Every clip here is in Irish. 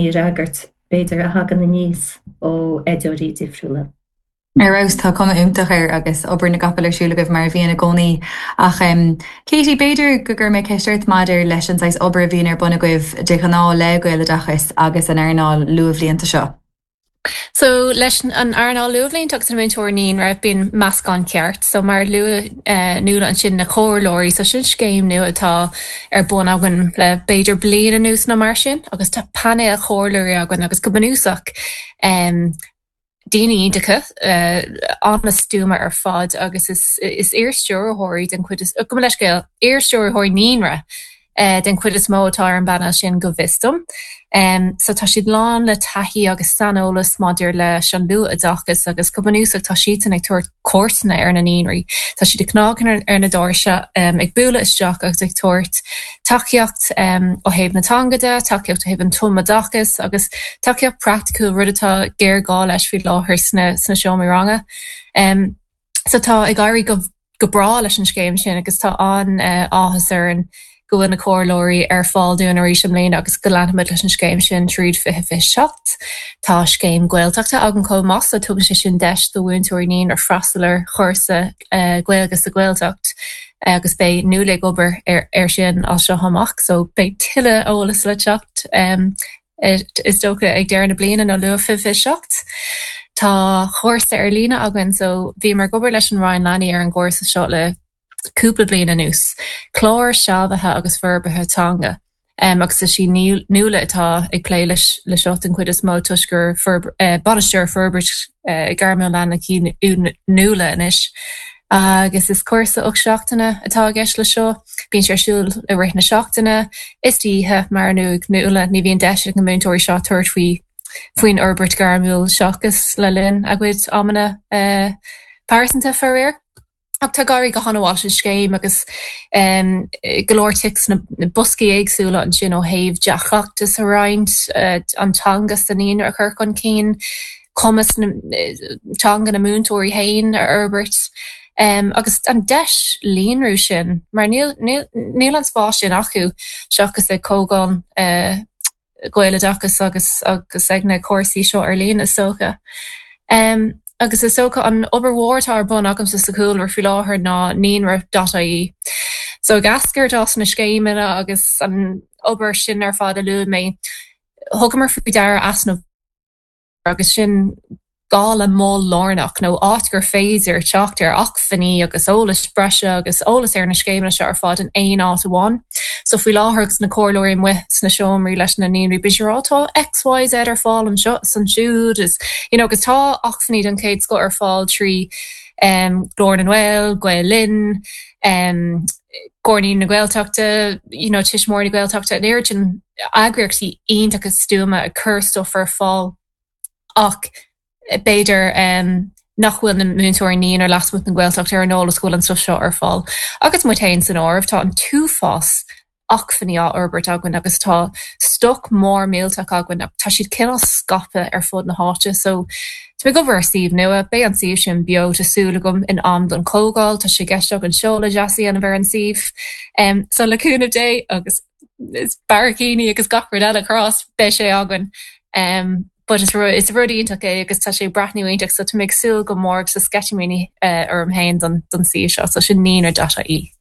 a fhreagairt, b'fhéidir, a thagann aníos ó oideoirí difriúla. Ar fheabhas, tá cuma iontach air agus obair na gcapall ar siúl agaibh mar a bhíonn i gcónaí. Ach Katie, b'fhéidir go gcuirfidh mé ceist ort maidir leis an saghas obair a bhíonn ar bun agaibh de ghnáth le Gaeloideachas agus an earnáil luathbhlianta seo. So leis an earnáil luathbhlianta agus na múinteoirí naíonra, bíonn meascán ceart. So mar a luaigh Nuala ansin, na comhairleoirí, so sin scéim nua atá ar bun againn le b'fhéidir bliain anuas nó mar sin agus tá painéal comhairleoirí againn agus go bunúsach daoine iontacha, an-stuama ar fad agus is is iar-stiúrthóirí den chuid is, gabh mo leithscéal, iar-stiúrthóirí naíonra den chuid is mó atá ar an bpainéal sin go bhfios dom. So tá siad lán le taithí agus saineolas maidir leis an luathoideachas agus go bunúsach tá siadsan ag tabhairt cuairteanna ar na naíonraí. Tá siad ag cnagadh ar na doirse, ag bualadh isteach agus ag tabhairt tacaíocht ó thaobh na teanga de, tacaíocht ó thaobh an tumoideachais agus tacaíocht praiticiúil, rud atá géarghá leis faoi láthair sna seomraí ranga. So tá ag éirí go go breá leis an scéim sin agus tá an-áthas orainn go bhfuil na comhairleoirí ar fáil dúinn arís i mbliana agus go leanfaimid leis an scéim sin tríd 2027. Tá scéim Gaeltachta againn chomh maith so tugann sé sin deis do mhúinteoirí naíonra freastal ar chúrsa Gaeilge sa Ghaeltacht agus beidh Nuala ag obair ar sin as seo amach so beidh tuilleadh eolas le teacht is dócha ag deireadh na bliana nó luath 2027. Tá cúrsa ar líne againn so bhíomar ag obair leis an Roinn Leanaí ar an gcúrsa seo le cúpla bliain anuas, clár sealbhaithe agus forbartha teanga agus is í Nuala atá ag plé leis seo den chuid is mó toisc gur bainisteoir forbairt gairmiúil leanúnach í Nuala anois. Agus is cúrsa 8 seachtaine atá i gceist leis seo. Bíonn sé ar siúl i rith na seachtaine is d'oíche, mar a luaigh Nuala, ní bhíonn deis ag na múinteoirí seo tabhairt faoi faoin fhorbairt ghairmiúil seachas le linn a gcuid amanna pearsanta, faraor. Ach tá ag éirí go han-mhaith leis an scéim agus go leor tic sna boscaí éagsúla ansin ó thaobh dea-chleachtas a roinnt, an teanga sa naíonra a chur chun cinn, cumas teanga na múinteoirí féin a fhorbairt agus an deis líonrú sin mar níl níl an spás sin acu seachas ag comhdháil Gaeloideachas agus agus ag na cúrsaí seo ar líne is dócha. Agus is dócha an obair mhór atá ar bun agamsa sa chúlra faoi láthair ná naíonra dot ie. So ag eascairt as na scéimeanna agus an obair sin ar fad a luaigh mé, thugamar faoi deara easnamh agus sin gá le mol lárnach nó áit gur féidir teacht ar acmhainní agus eolas breise agus eolas ar na scéimeanna seo ar fad in aon áit amháin. So faoi láthair agus na comhairleoirí amuigh sna seomraí leis na naíonraí bíonn siad ag rá tá X, Y, Z ar fáil anseo is ansiúd is you know agus tá acmhainní den chéad scoth ar fáil trí um, Glór na nGael, Gael Linn, um, Comhar Naíonraí na Gaeltachta, you know, Tuismitheoirí na Gaeltachta, an oiread sin eagraíochtaí iontacha stuama ag cur stuff ar fáil ach b'fhéidir nach bhfuil na múinteoirí naíonra lasmuigh den Ghaeltacht ar an eolas go bhfuil an stuff seo ar fáil. Agus muid féin san áireamh, tá an t-uafás acmhainní á fhorbairt againn agus tá stoc mór millteach againn ach tá siad cineál scaipthe ar fud na háite. So tá mé ag obair ar suíomh nua, beidh an suíomh sin beo tá súil agam in am don chomhdháil, tá sé i gceist againn seoladh deas a dhéanamh ar an suíomh. So le cúnamh Dé agus barraicíní agus gach rud eile a chrá, beidh sé againn. But is rud is rud iontach é agus tá sé ag breathnú iontach so tá mé ag súil go mór agus tá sceitimíní orm féin don don suíomh seo so sin naíonra dot ie.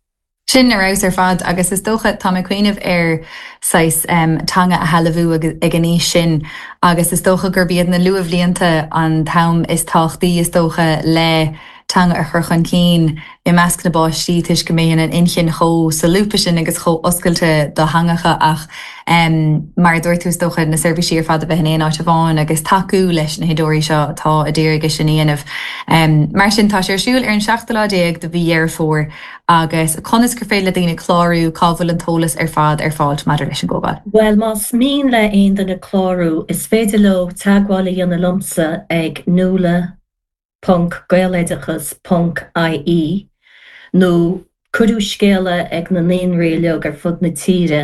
Sin ar fheabhas ar fad agus is dócha, tá mé ag cuimhneamh ar saghas teanga a shealbhú ag an aois sin agus is dócha gurb iad na luathbhlianta an t-am is tábhachtaí is dócha le teanga a chur chun cinn i measc na bpáistí toisc go mbíonn an inchinn chomh solúbtha sin agus chomh oscailte do theangacha ach mar a dúirt tú is dócha na seirbhísí ar fad a bheith in aon áit amháin agus tacú leis na hoideoirí seo atá a d'iarraidh é sin a dhéanamh. Mar sin tá sé ar siúl ar an seachtú lá déag de mhí Dheireadh Fómhair agus conas gur féidir le daoine clárú, cá bhfuil an t-eolas ar fad ar fáil maidir leis an gcomhdháil? Bhuel, más mian le aon duine clárú, is féidir leo teagmháil a dhéanamh liomsa ag nuala ponc gaeloideachas ponc ie nó cuireadh scéala ag na naíonraí uilig ar fud na tíre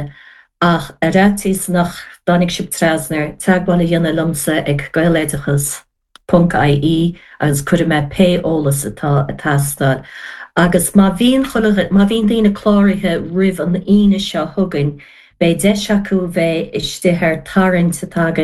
ach ar fhaitíos nach dtáinig sibh trasna air, teagmháil a dhéanamh liomsa ag gaeloideachas ponc ie agus cuirfidh mé pé eolas atá ag teastáil. Agus má bhíonn chuile, má bhíonn daoine cláraithe roimh an Aoine seo chugainn, beidh deis acu bheith istigh ar tarraingt atá againn.